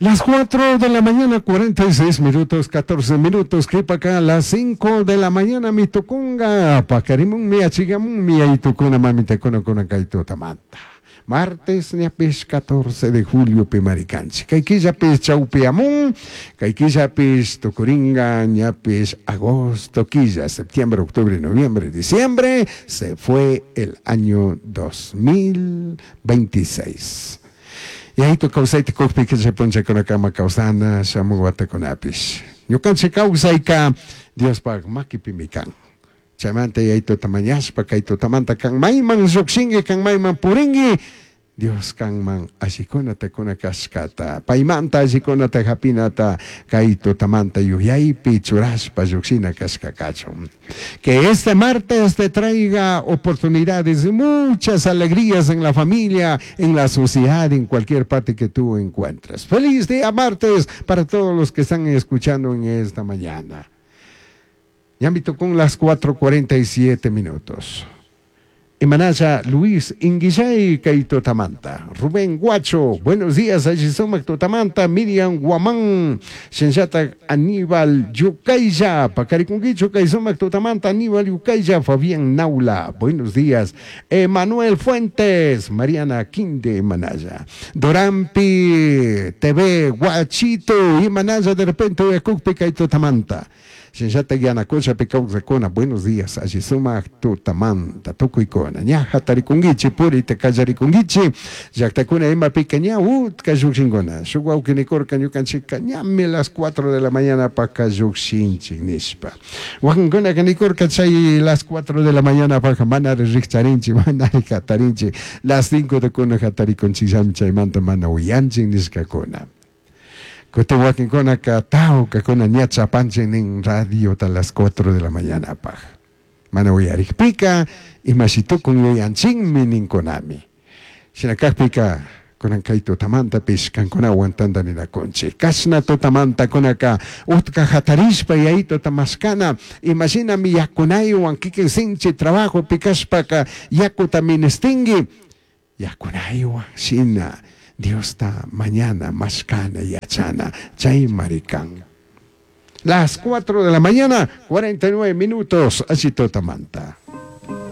Las 4 de la mañana, 46 minutos, 14 minutos, qhipaka las 5 de la mañana mi tukunga, paqarimunmi, achigamunmi, yayitukuna, mamitakuna kunan kay tutamanta. Martes ñapish 14 de julio pimari kanchik. Kay killapish chawpiyamun, kay killapish tukuringa ñapish agosto quilla, septiembre, octubre, noviembre, diciembre, se fue el año 2026. Yayitu kawsayta kukpika chay punllakunakama kawsana shamuk watakunapish. Ñukanchik kawsayka Diospaj makipimi kan. Chaymanta Yayituta mañashpa kay tutamanta kan mayman llujshinki, kan mayman purinki, Dios kanman allikunata kuna kashkata, paymanta allikunata japinata kay tutamanta yuyaypi churashpa llujshina kashka kachun. Que este martes te traiga oportunidades y muchas alegrías en la familia, en la sociedad, en cualquier parte que tú encuentres. Feliz día martes para todos los que están escuchando en esta mañana. Ñami tukun las 4:47 minutos. Imanalla Luis Inguillay kay tutamanta. Rubén Guacho, buenos días, alli sumak tutamanta. Miriam Guamán, shinallatak Aníbal Yucaylla, paqarikunkichu kay sumak tutamanta. Aníbal Yucaylla, Fabián Naula, buenos días. Emanuel Fuentes, Mariana Quinde, Imanalla. Dorampi TV, Guachito, Imanalla de repente uyakukpi kay tutamanta. Shinallatak Yanacochapi kawsakuna, buenos días, alli sumak tutamanta, tukuykuna, ña hatarikunkichik, purita kallarikunkichik, llaktakuna imapika ña utka llukshinkuna, shuk wawki nikurka ñukanchikka ñami las 4 de la mañana paka llukshinchik nishpa. Wakinkunaka nikurka chay las 4 de la mañana paka manari rikcharinchik, manari hatarinchik, las 5 de kuna hatarikunchikllami chaymanta mana uyanchik nishkakuna. Kutin wakinkunaka tawkakuna ña chapanchik nin radiota las 4 de la mañanapaj. Mana uyarikpika imashi tukun yuyanchinmi ninkunami. Shina kakpika kunan kay tutamantapish kankunawan tantaninakunchik. Kashna tutamanta kunaka utka hatarishpa yayituta mashkana imashinami yakunaywan kikin sinchi trabajopi kashpaka yakuta ministinki yakunaywan shina Diosta mañana mashkana yachana chaymari kan. Las 4 de la mañana, 49 minutos, alli tutamanta.